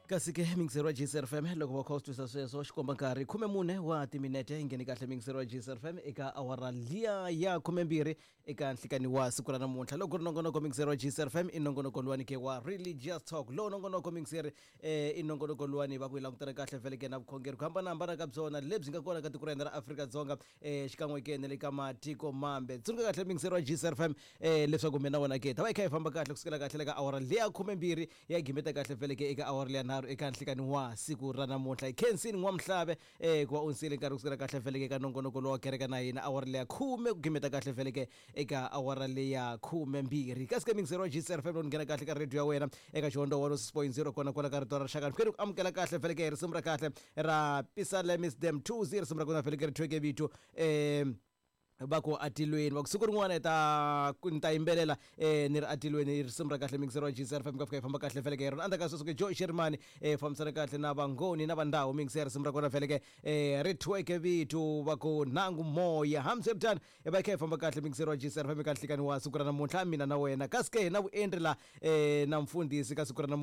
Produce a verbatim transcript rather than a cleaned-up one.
Kasi ke mingiseri wa G C R F M loko va kha u swi twisa sweswo xikomba nkarhi khume mune wa timinete yi ngheni kahle mingiseri wa G C R F M eka awara liya ya khumembirhi eka nhlikani wa siku ra namuntlha. Loko ku ri nongonoko mingiseri wa G C R F M i nongonoko luwani ke wa Religious Talk. Lowu nongonoko mingiseri eh, i nongonoko luwani va ku yi langutana kahle vhele ke na vukhongeri ku hambanahambana ka byona lebyi nga kona ka tiko ra hina ra Afrika-Dzonga eh, xikan'we ke na le ka matiko mambe. Tsundzuka kahle mingiseri wa G C R F M eh, leswaku mina wena ke ta va yi kha yi famba kahle kusukela kahle le ka awara liya khumembirhi ya gimeta kahle vhele ke eka awara liya nharhu eka nhlikani wa siku ra namuntlha. Hi khensini N'wamhlave eh, ku va u nsile nkarhi kusukela kahle vhele ke eka nongonoko lowa kereka na hina awara liya khume ku gimeta kahle vhele ke eka awara liya khumembirhi. Kasi ke mingiseri wa G C R F M lowu nghena kahle ka radio ya wena eka xihondo one oh six point zero kona kwala ka rito ra rixaka. Ni ku amukela kahle vhele ke risimu ra kahle ra Pisalemis Dem two zero risimu ra kona vhele ke ri thweke vito eh, va ku atilweni va ku siku rin'wana hi ta ni ta yimbelela eh, ni ri atilweni risimu ra kahle mingiseri wa G C R F M ka fika yi famba kahle vhele ke rona. Endzhaku ka sweswo ke Joe Shirimani eh, fambisana kahle na Vangoni na Vandhawu mingiseri risimu ra kona vhele ke eh, ri thweke vito va ku nangu moya. Hambiswiritano hi va yi kha yi famba kahle mingiseri wa G C R F M eka nhlikani wa siku ra namuntlha mina na wena. Kasi ke hi na vuendri la eh, na mfundhisi ka siku ra namuntlha.